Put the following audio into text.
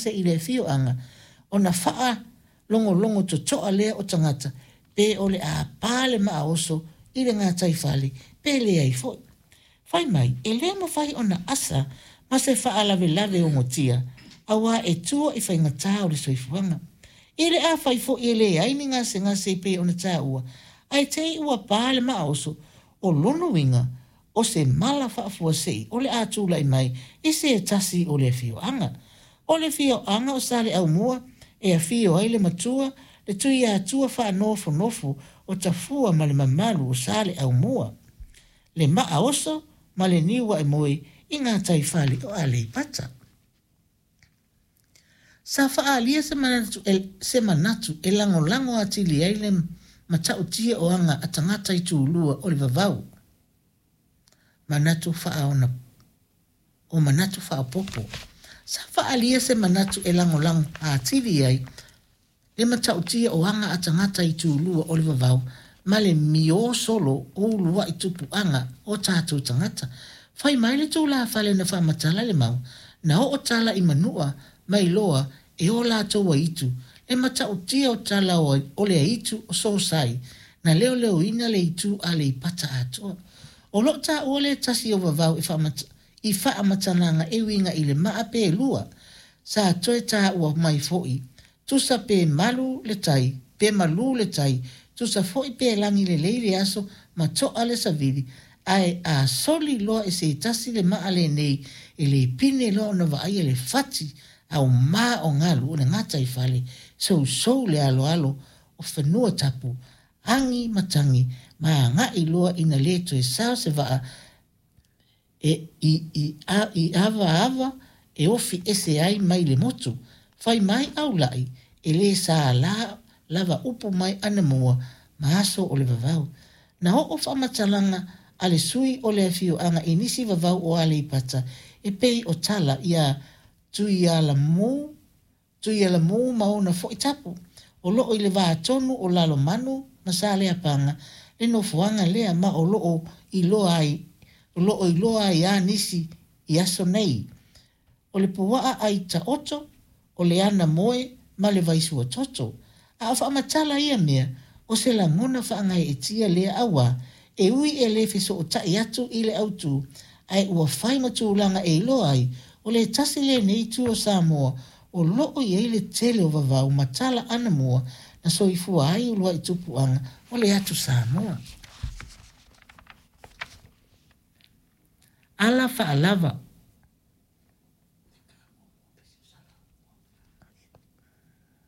gasegase i le afioaga, ona faalogologo totoa lea o tagata pe o le a pa le maa oso i le gataifale pe leai foi. Fai mai, e le mafai ona asa ma se faalavelave ogotia, auā e tua i faigata o le soifuaga. I le afai foi e leai ni gasegase e pei ona taua, ae te i ua pa le maa oso, o lona uiga, o se mala faafuasei o le a tulai mai i se tasi o le afioaga. O le afioaga o Saleaaumua e afio ai le matua, le Tuiatua faanofonofo o Tafua ma le mamalu o Saleaaumua, le maa oso ma le niu aemoe i gataifale o Aleipata. Sa faaalia se manatu e, se manatu e lagolago atili ai le matautia o aga a tagata i tulua o le vavau. Manatu faaona o manatu faaopoopo. Sa faaalia se manatu e lagolago atili ai le matautia o aga a tagata i tulua o le vavau ma le miō solo o uluaʻi tupuaga o tatou tagata. Fai mai le tulafale na faamatala le mau, na oo tala i Manua ma iloa e o latou aitu le matautia o tala o le aitu o Sosai na leoleoina le itu Aleipata atoa. O loo taua le tasi o vavau e i faamatalaga e uiga i le maa pe lua. Sa toe taua mai foi, tusa pe malu le tai, pe malū le tai, tusa foi pe lagi lelei le aso ma toa le savili, ae a soli loa e se tasi le maa lenei, e le pine loa ona vaaia le fati aumā o galu o le gataifale, sousou le aloalo o fanua tapu, agi matagi ma agai loa ina le toe sao se vaa e i i a i avaava e ofi ese ai mai le motu. Fai mai Aulaʻi, e lē salā lava upu mai anamua ma aso o le vavau. Na oo faamatalaga a le sui o le afioaga i nisi vavau o Aleipata e pei o tala iā Tuialamu Tuialamu ma ona foi tapu, o loo i le va tonu o Lalomanu ma Saleapaga le nofoaga lea ma o loo iloa ai o loo iloa ai lava nisi i aso nei. O le puaa ai taoto, o le ana moe ma le vai suatoto. A o faamatala ia mea, o se lagona faagaeetia lea auā, e ui e le fesootai atu i le autū, ae ua fai ma tulaga e iloa ai, o le tasi lenei itu o Samoa o loo i ai le tele o vavau ma tala anamua na soifua ai uluai tupuaga o le atu Samoa. Ala faalava.